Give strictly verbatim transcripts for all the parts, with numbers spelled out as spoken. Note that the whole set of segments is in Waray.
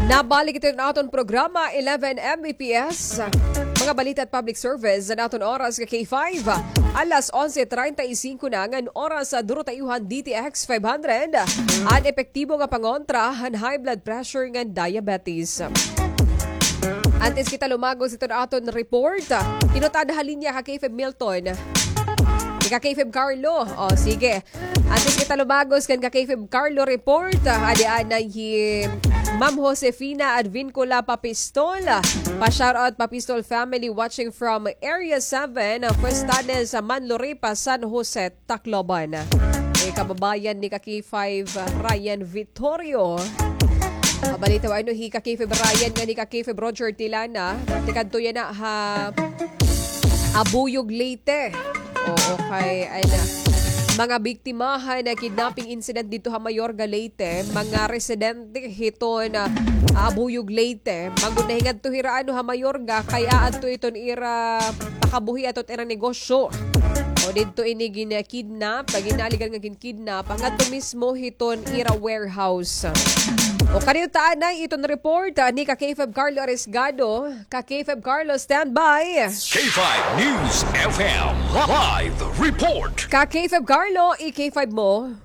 Nabalik ito an aton programa, eleven M B P S. Mga balita at public service an aton oras ka K five. Alas onse treinta y cinco na ngan oras sa durotayuhan D T X five hundred. An epektibo nga pangontra han high blood pressure ngan diabetes. Antes kita lumagos iton aton report, inutan ha linya ka K five Milton. Ika K five Carlo. O, sige. Antes kita lumagos kan ka K five Carlo report, ah, adi anay hi Ma'am Josefina Advincula Papistol. Pa-shoutout Papistol family watching from Area seven, ah, Fuestanes, ah, Manluripa, San Jose, Tacloban. Eh, kababayan ni ka K five, ah, Ryan Vittorio. Mabalita wa ano hi ka K five Ryan nga ni ka K five Roger Tilana. Tikadto yana ha Abuyog, Leyte. Oo, kay, ay na. Mga biktima han kidnapping incident didto ha Mayorga, Leyte, mga residente hiton, ah, Abuyog, Leyte. Magud nahingadto hira ano ha Mayorga, kay aadto iton ira pakabuhi ato it ira negosyo. O didto ini gin-kidnap, pag ginaligan nga gin-kidnap, ngadto mismo hiton ira warehouse. O kaniyo ta anay iton report, ah, ni ka K five Carlo Arisgado. Ka K five Carlo, standby. K five News F M live report. Ka K five Carlo, i K five mo.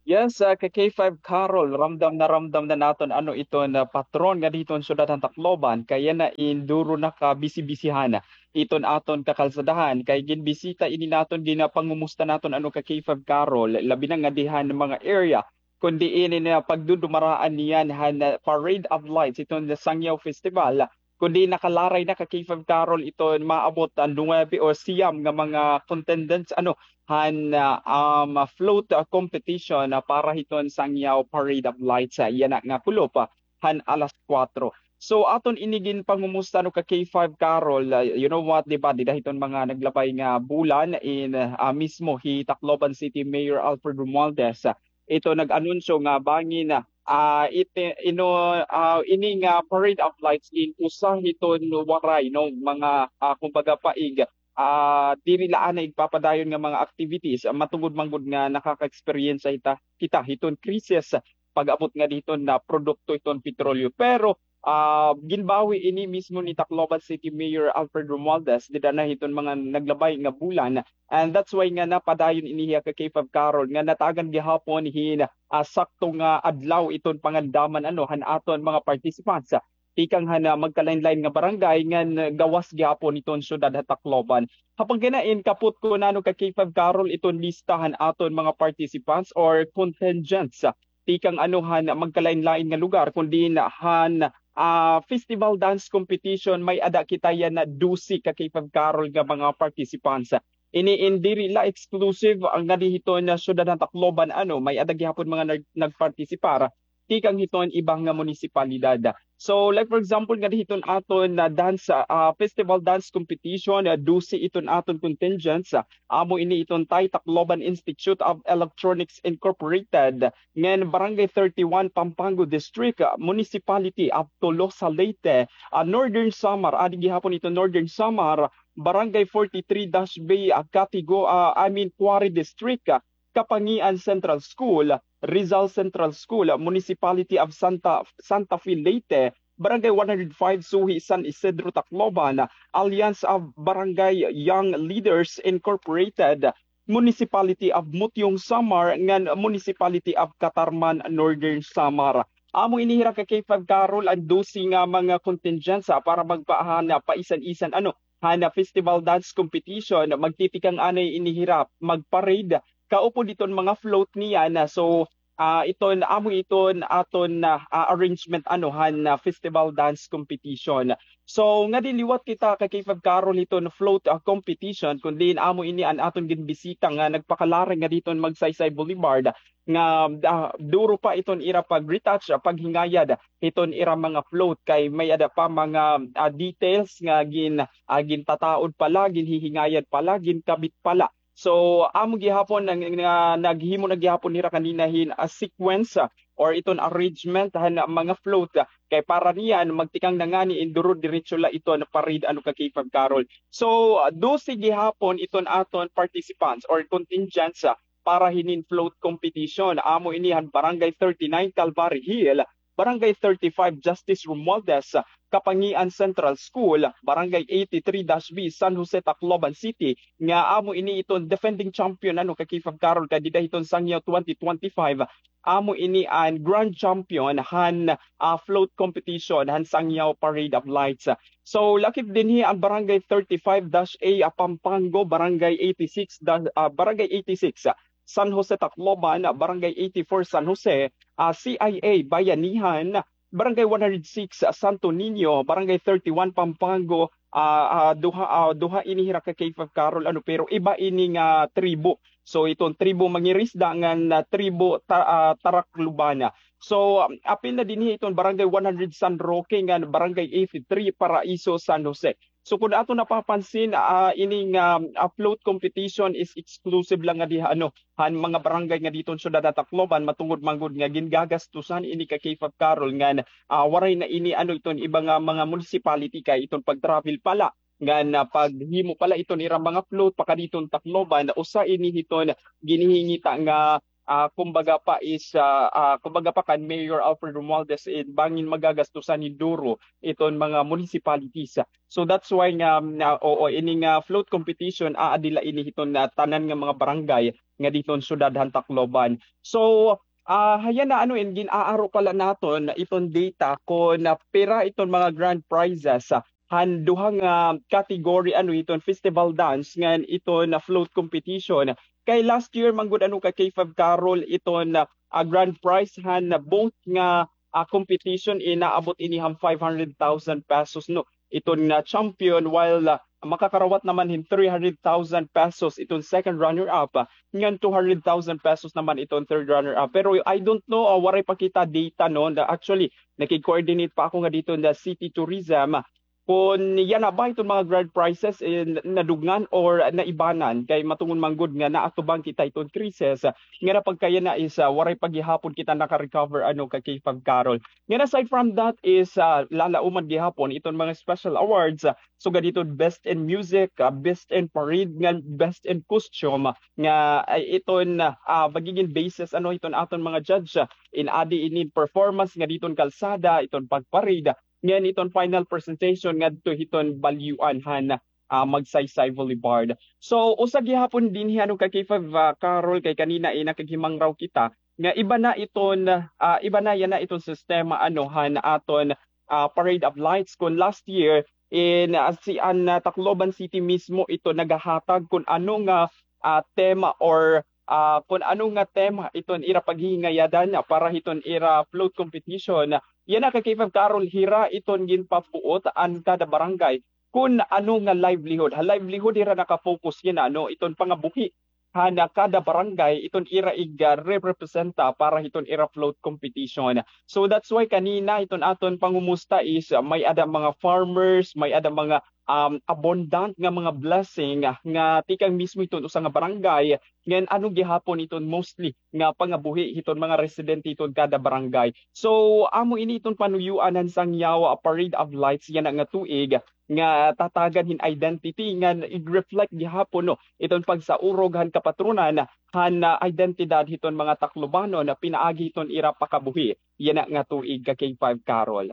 Yes, ah, ka K five Carol, ramdam na ramdam na naton ano iton, ah, patron nga didto han syudad han Tacloban, kay yana in duro na ka bisi-bisihan iton aton kakalsadahan, kay ginbisita ini naton, ginapangumusta naton ano ka K five Carol, labi na nga dihan mga area kundi ini na pagdudumaraan niyan han, ah, Parade of Lights iton Sangyaw Festival. Kundi nakalaray na ka K five Carol iton maabot an nuwebe o siyam nga mga contendants, ano, han, ah, um, float, ah, competition, ah, para hiton Sangyaw Parade of Lights, ah, yana nga kulop, ah, han alas kuwatro. So, aton ini ginpangumusta, no, ka K five Carol, ah, you know what, di ba, dida hiton mga naglabay nga bulan in, ah, mismo hi Tacloban City Mayor Alfred Romualdez, ah, ito nag-anunsyo nga bangin, ah, iti-, ino, ah, ini nga Parade of Lights in usa hiton waray, no, mga, ah, kumbaga, paig, ah, diri la anay igpapadayon nga mga activities, ah, matungod man gud nga nakaka-experience kita, kita hiton krisis pag-abot nga diton nga produkto hiton petrolyo. Pero, ah, ginbawi ini mismo ni Tacloban City Mayor Alfred Romualdez dida na hiton mga naglabay nga bulan. And that's why nga napadayon ini hiya ka K five Carol nga natagan gihapon hin, ah, sakto nga adlaw iton pangandaman, ano, han aton mga participants, ah, tikang han, ah, magkalain-lain nga barangay ngan, ah, gawas gihapon iton syudad ha Tacloban. Ha pagkinain, kapot ko nano ka K five Carol iton lista han aton mga participants or contingents, ah, tikang ano han magkalain-lain nga lugar, kundi han, ah, festival dance competition, may-ada kita yana dose ka K five Carol nga mga participants. Ini in diri la exclusive nga dida hiton syudad han Tacloban, ano, may-ada gihapon mga nag-, nagpartisipar tikang hiton iba nga munisipalidad. So, like for example, nga dida hiton aton nga dance, ah, festival dance competition, ah, dose iton aton contingents, ah, amo ini iton Thai Tacloban Institute of Electronics Incorporated, ngan Barangay thirty-one, Pampanga District, ah, Municipality of Tolosa, Leyte, ah, Northern Samar, adi gihapon iton Northern Samar, Barangay forty-three dash B, ah, Catigo, ah, I mean, Quarry District, ah, Kapangian Central School, Rizal Central School, Municipality of Santa, Santa Fe, Leyte, Barangay one hundred five, Suhi, San Isidro, Tacloban, Alliance of Barangay Young Leaders Incorporated, Municipality of Mutiong, Samar, ngan Municipality of Catarman, Northern Samar. Amo ini hira ka K five Carol an dose nga mga contingents, ah, para magpaahan, ah, paisan-isan, ano, han, ah, festival dance competition, magtitikang anay ini hira, mag-parade, kaupod iton mga float niyan, ah, so, ah, iton, amo iton aton, ah, ah, arrangement, ano, han, ah, festival dance competition. So, ngadi liwat kita ka K five Carol hiton float, ah, competition, kun diin amo ini an aton ginbisita nga nagpakalaray ngadi hiton Magsaysay Boulevard, nga, ah, duro pa iton ira pag-retouch, ah, paghingayad hiton ira mga float, kay may-ada pa mga, ah, details nga gin-, ah, gintataod pa la, ginhihingayad pa la, ginkabit pa la. So, amo gihapon nga, nga naghimo na gihapon hira kanina hin, ah, sequence, ah, or iton arrangement han mga float, ah, kay para niyan magtikang na ngani in duro diretso la iton parade, ano, ka K five Carol. So, ah, dose gihapon iton aton participants or contingents, ah, para hinin float competition. Amo ini han Barangay thirty-nine, Calvary Hill, Barangay thirty-five Justice Romualdez, Kapangian Central School, Barangay eighty-three dash B, San Jose, Tacloban City, nga amo ini iton defending champion, ano, ka K five Carol, kay dida hiton Sangyaw twenty twenty-five, amo ini an grand champion han, ah, float competition han Sangyaw Parade of Lights. So, lakip dinhi an Barangay thirty-five dash A, ah, Pampango, Barangay eighty-six da-, ah, Barangay eighty-six, ah, San Jose, Tacloban, ah, Barangay eighty-four San Jose, ah, C I A Bayanihan, Barangay one hundred six, ah, Santo Niño, Barangay thirty-one Pampango, ah, ah, duha, ah, duha ini hira ka K five Carol, ano, pero iba ini nga tribo. So, iton tribo Mangirisda ngan, ah, tribo Ta-, ah, Taraklubana. So, um, apil na dinhi iton Barangay one hundred San Roque ngan Barangay eighty-three Paraiso, San Jose. So, kun ato napapansin, ah, ining, um, ah, float competition is exclusive lang nga diha, ano, han mga barangay nga diton syudad han Tacloban, matungod man gud nga gingagastusan ini ka K five Carol ngan, ah, waray na ini, ano, iton iba nga mga municipality kay iton pag-travel pala ngan, ah, paghimo pala iton ira mga float pakaditon Tacloban, usa ini hiton ginhihingita nga, ah, kumbaga pa is, ah, ah, kumbaga pa kan Mayor Alfred Romualdez, eh, bangin magagastusan hin duro iton mga municipalities. So that's why nga, ah, oo, ini nga float competition, aadi la ini hiton, ah, tanan nga mga barangay nga diton syudad han Tacloban. So, ah, hayan na, ano, in gin-aaro pala naton iton data kon, ah, pira iton mga grand prizes, ah, han duha nga category, ano, iton festival dance ngan iton, ah, float competition. Kay last year man gud, ano, ka K five Carol, iton, ah, ah, grand prize han both nga, ah, competition, inaabot ini han five hundred thousand pesos, no, iton nga champion, while, ah, makakarawat naman hin three hundred thousand pesos iton second runner-up, ah, ngan two hundred thousand pesos naman iton third runner-up. Pero I don't know, ah, waray pa kita data, no? Na, actually, nakig-coordinate pa ako nga diton nga City Tourism, ah, kon yana ba iton mga grand prizes, eh, na-, nadugngan or naibanan, kay matungod man gud nga naatubang kita iton krisis, ah, nga napagkayana is, ah, waray pa gihapon kita naka-recover, ano, ka K five Carol. Ngan aside from that is, ah, lalauman gihapon iton mga special awards, ah, sugad hiton Best in Music, ah, Best in Parade, ngan Best in Costume, ah, nga, ay, iton, ah, magigin basis, ano, hiton aton mga judge, ah, in-adi ini performance nga diton kalsada, iton pag-parade, ngan iton final presentation ngadto hiton balyuan han, ah, Magsaysay Boulevard. So, usa gihapon dinhi, ano, ka K five, ah, Carol, kay kanina, eh, nakaghimangraw kita nga iba na iton, ah, iba na yana iton sistema, ano, han aton, ah, Parade of Lights. Kon last year, in, ah, si, an, ah, Tacloban City mismo ito nagahatag kon ano nga, ah, tema or, ah, kon ano nga tema iton ira paghihingayadan para hiton ira float competition. Yana ka K five Carol, hira iton ginpabuot an kada barangay kon ano nga livelihood. Ha livelihood hira naka-focus yana, no, iton pangabuhi han kada barangay, iton ira ig-, ah, representa para hiton ira float competition. So that's why kanina iton aton pangumusta is, ah, may-ada mga farmers, may-ada mga, um, abundant nga mga blessing, ah, nga tikang mismo hiton usa nga barangay, ngan ano gihapon iton mostly nga pangabuhi hiton mga residente hiton kada barangay. So, amo ini iton panuyuan han Sangyaw, ah, Parade of Lights yana nga tuig, nga tatagan hin identity ngan ig-reflect gihapon, no, iton pagsaurog han kapatronan han, ah, identidad hiton mga Taclobanon pinaagi hiton ira pakabuhi yana nga tuig ka K five Carol.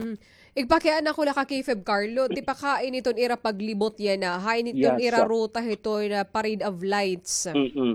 Mm. Igpakiana ko la ka K five Carlo, tipakain iton ira paglibot yana, hain iton ira ruta hiton, ah, Parade of Lights. Mm-mm.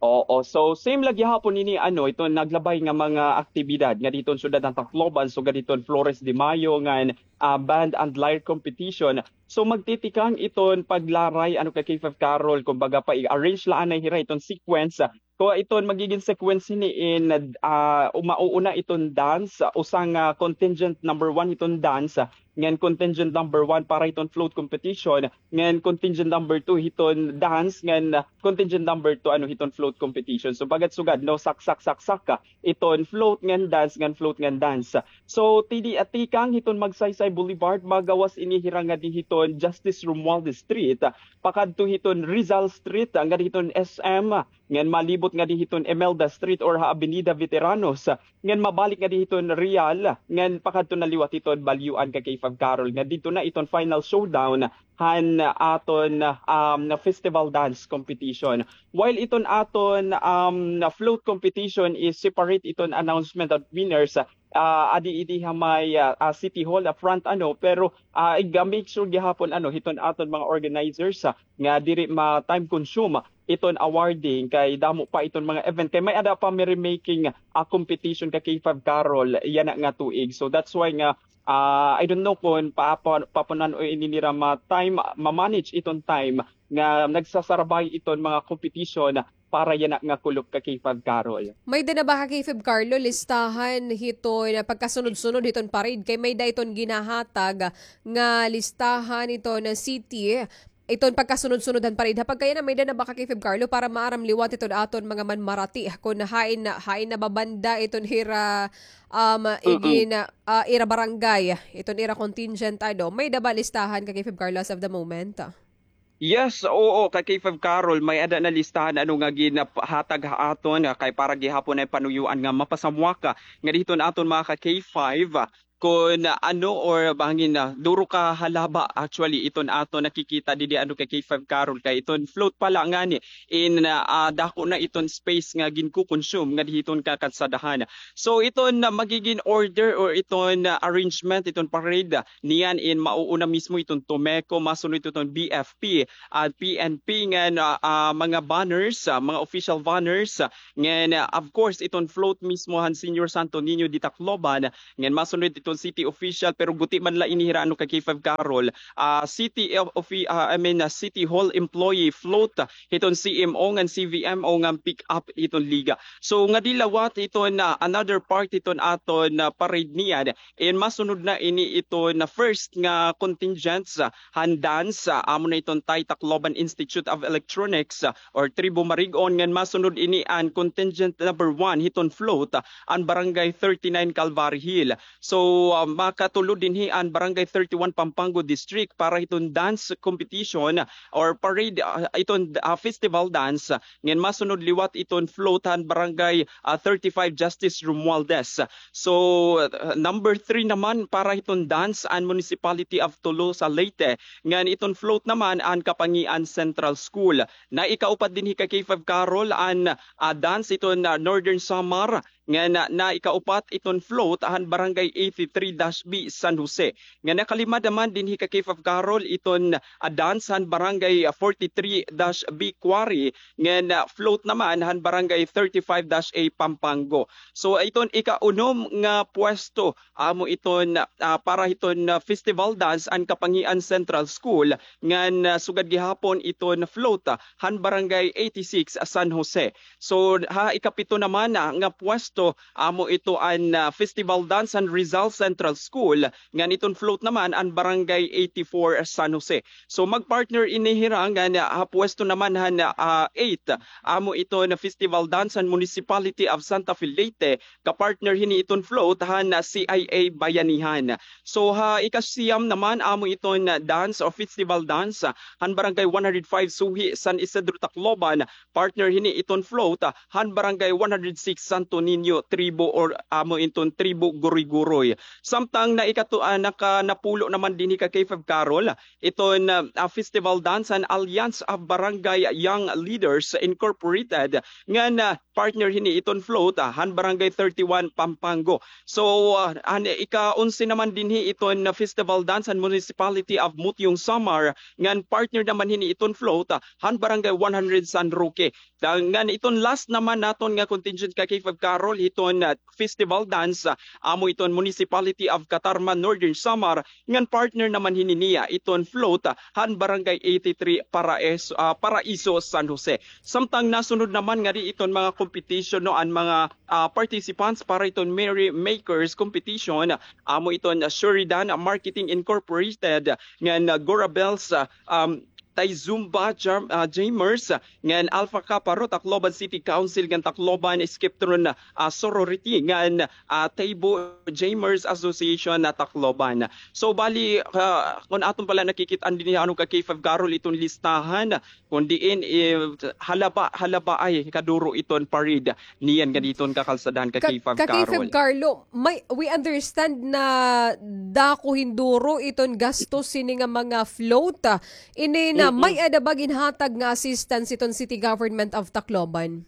Oo, so same la gihapon ini, ano, iton naglabay nga mga aktibidad nga diton syudad han Tacloban, sugad hiton Flores de Mayo ngan, ah, band and lyre competition. So magtitikang iton paglaray, ano, ka K five Carol, kumbaga pa i-arrange la anay hira iton sequence. Kung iton magigin sequence hini in, ah, mauuna iton dance, usa nga contingent number one iton dance, ngan contingent number one para hiton float competition, ngan contingent number two hiton dance, ngan, ah, contingent number two, ano, hiton float competition. So, sugad-sugad, no, saksak-saksak ka, iton float ngan dance, ngan float ngan dance. So, tidi, ah, tikang hiton Magsaysay Boulevard, magawas ini hira ngadi hiton Justice Romualdez Street, ah, pakadto hiton Rizal Street, ah, ngadi hiton S M, ah, ngan malibot ngadi hiton Imelda Street or ha Avenida Veteranos, ah, ngan mabalik ngadi hiton Real, ngan pakadto na liwat hiton Balyuan ka K five Carol, nga didto na iton final showdown han aton, um, festival dance competition. While iton aton, um, float competition is separate iton announcement of winners, ah, adi idi ha may, ah, ah, City Hall, ah, front, ano, pero, ah, iga-make sure gihapon, ano, hiton aton mga organizers, ah, nga diri ma-time consume iton awarding kay damo pa iton mga event. Kay may-ada pa merrymaking, ah, competition ka K five Carol yana nga tuig. So that's why nga, ah, I don't know kon paapon-, papunan o ini nira ma-time, ma-manage iton time nga nagsasarabay iton mga competition para yana nga kulop ka K five Carol. May-ada na ba ka K five Carlo listahan hiton pagkasunod-sunod hiton parade? Kay may-ada iton ginahatag nga listahan hiton city, iton pagkasunod-sunod han parade. Ha pagkayana, may-ada na ba ka K five Carlo para maaram liwat iton aton mga manmarati kon hain, hain na ba banda iton ira, um, igin, ah, ira barangay, iton ira contingent, ano? May-ada ba listahan ka K five Carlo as of the moment? Yes, oo, ka K five Carol, may-ada na listahan, ano, nga ginahatag ha aton, ah, kay para gihapon ay panuyuan nga mapasamwaka nga diton aton mga ka K five, ah, kon, ah, ano, or bangin, ah, duro ka halaba, actually, iton aton nakikita didi, ano, ka K five Carol, kay iton float pala ngani in, ah, ah, dako na iton space nga ginkukonsume nga dihiton ka kalsadahan. So, iton, ah, magigin order or iton, ah, arrangement, iton parade, ah, niyan in mauuna mismo iton Tomeco, masunod iton B F P, ah, P N P, ngan, ah, ah, mga banners, ah, mga official banners, ah, ngan, ah, of course, iton float mismo han Señor Santo Niño de Tacloban, ngan masunod iton city official, pero guti man la ini hira, ano, ka K five Carol, ah, city of, of, ah, I mean, ah, City Hall employee float, ah, hiton C M O ngan C V M O ngan pick up hiton liga. So, ngadi liwat iton, ah, another part hiton aton, ah, parade niyan, in masunod na ini iton first nga contingents, ah, han dance, ah, amo na iton Thai Tacloban Institute of Electronics, ah, or Tribo Marigon, ngan masunod ini an contingent number one hiton float, ah, an Barangay thirty-nine Calvary Hill. So, ah, makatulod dinhi an Barangay thirty-one Pampanga District para hiton dance competition or parade, ah, iton, ah, festival dance, ngan masunod liwat iton float han Barangay, ah, thirty-five Justice Romualdez. So, ah, number three naman para hiton dance an Municipality of Tolosa, Leyte. Ngan iton float naman an Kapangian Central School. Naikaupat dinhi ka K five Carol an, ah, dance iton, ah, Northern Samar. Ngan na, naikaupat iton float han Barangay eighty-three dash B San Jose. Ngan nakalima naman dinhi ka K five Carol iton, ah, dance han Barangay, ah, forty-three dash B Quarry. Ngan, ah, float naman han Barangay thirty-five dash A Pampanga. So, iton ikaunom nga pwesto, amo iton, ah, para hiton, ah, festival dance an Kapangian Central School, ngan, ah, sugad gihapon iton float, ah, han Barangay eighty-six, ah, San Jose. So, ha ikapito naman, ah, nga pwesto, amo ito an, ah, festival dance han Rizal Central School, ngan iton float naman an Barangay eighty-four, ah, San Jose. So, magpartner ini hira ngan, ah, ha pwesto naman han, ah, eight, amo iton festival dance han Municipality of Santa Fe, Leyte, kapartner hini iton float han, ah, C I A Bayanihan. So, ha ikasiyam naman, amo iton, ah, dance o festival dance, ah, han Barangay one hundred five Suhi, San Isidro, Tacloban, partner hini iton float, ah, han Barangay one hundred six Santo Niño Tribo or amo iton Tribo Guruyguruy. Samtang na ikatu-, ah, nakanapulo naman dinhi ka K five Carol, iton, ah, ah, festival dance han Alliance of Barangay Young Leaders Incorporated, ngan, ah, partner hini iton float, ah, han Barangay thirty-one Pampanga. So, ah, han ika-onse naman dinhi iton, ah, festival dance han Municipality of Motiong, Samar, ngan partner naman hini iton float, ah, han Barangay one hundred San Roque. Da-, ngan iton last naman naton nga contingent ka K five Carol hiton, ah, festival dance, ah, amo iton Municipality of Catarman, Northern Samar, ngan partner naman hini niya iton float, ah, han Barangay eighty-three Paraes-, ah, Paraiso, San Jose. Samtang nasunod naman ngadi iton mga competition, no, an mga, ah, participants para iton Merry Makers competition, amo iton, ah, Shuridan Marketing Incorporated, ngan, ah, Gorabels, ah, um, Tay Zumba Jam-, ah, Jamers, ngan Alpha Kappa Rho Tacloban City Council, ngan Tacloban Skiptron, ah, Sorority, ngan, ah, Taybo Jamers Association na Tacloban. So, bali, ah, kon aton pala nakikit-an dinhi, ano, ka K five Carol, iton listahan, kon diin, eh, halaba, halabaay kaduro iton parade niyan ngadi iton kakalsadahan ka K five Carol. Carlo, may, we understand na dako hinduro iton gastos hini nga mga float, ah. Ini na, may-ada ba ginhatag nga assistance iton City Government of Tacloban?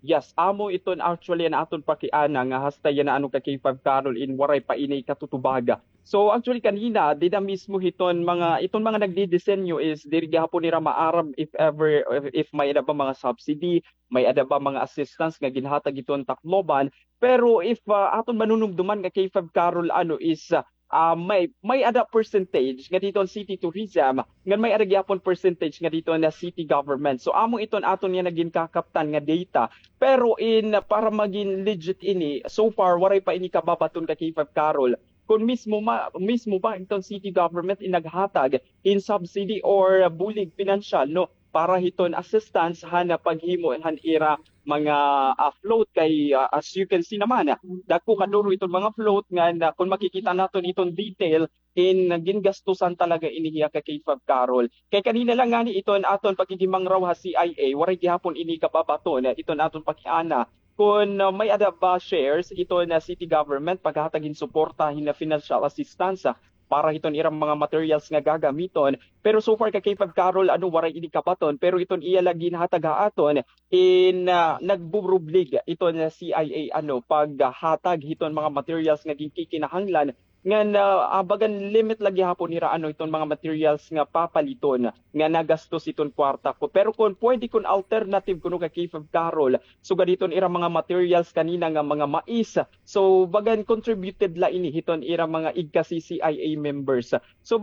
Yes, amo iton actually an aton pakiana nga hasta yana ano ka K five Carol in waray pa ini katutubaga. So actually kanina, dida mismo hiton mga, iton mga nagdidisenyo is diri gihapon nira maaram if ever, if, if may-ada ba mga subsidy, may-ada ba mga assistance nga ginhatag hiton Tacloban. Pero if, ah, aton manunumduman nga K five Carol ano is, ah, ah, may, may-ada percentage nga didto an city tourism, ngan may-ada gihapon percentage nga didto an city government. So amo iton aton nga nagin kakaptan nga data. Pero in, para magin legit ini, so far waray pa ini kababaton ka K five Carol. Kon mismo ma, mismo ba iton city government in naghatag in subsidy or bulig pinansyal, no, para hiton assistance han paghimo han ira mga, ah, float kay, ah, as you can see naman, ah, dagko kaduro iton mga float nga, ah, kon makikita naton iton detail, in gingastusan talaga ini hiya ka K five Carol. Kay kanina lang ngani iton aton paghihimangraw ha C I A, waray gihapon ini kababaton, ah, iton aton pakiana kon, ah, may-ada ba shares iton city government paghatag hin suporta hin financial assistance, ah, para hiton ira mga materials nga gagamiton. Pero so far ka K five Carol, ano, waray ini kabaton, pero iton iya la ginhatag ha aton in, ah, nagburublig iton C I A, ano, paghatag hiton mga materials nga ginkikinahanglan ngan, ah, ah, bagan limit la gihapon nira, ano, iton mga materials nga papaliton nga nagastos iton kwarta ko. Pero kon pwede, kon alternative kuno ka K five Carol, sugad hiton ira mga materials kanina nga mga mais, so bagan contributed la ini hiton ira mga igka C C I A members. So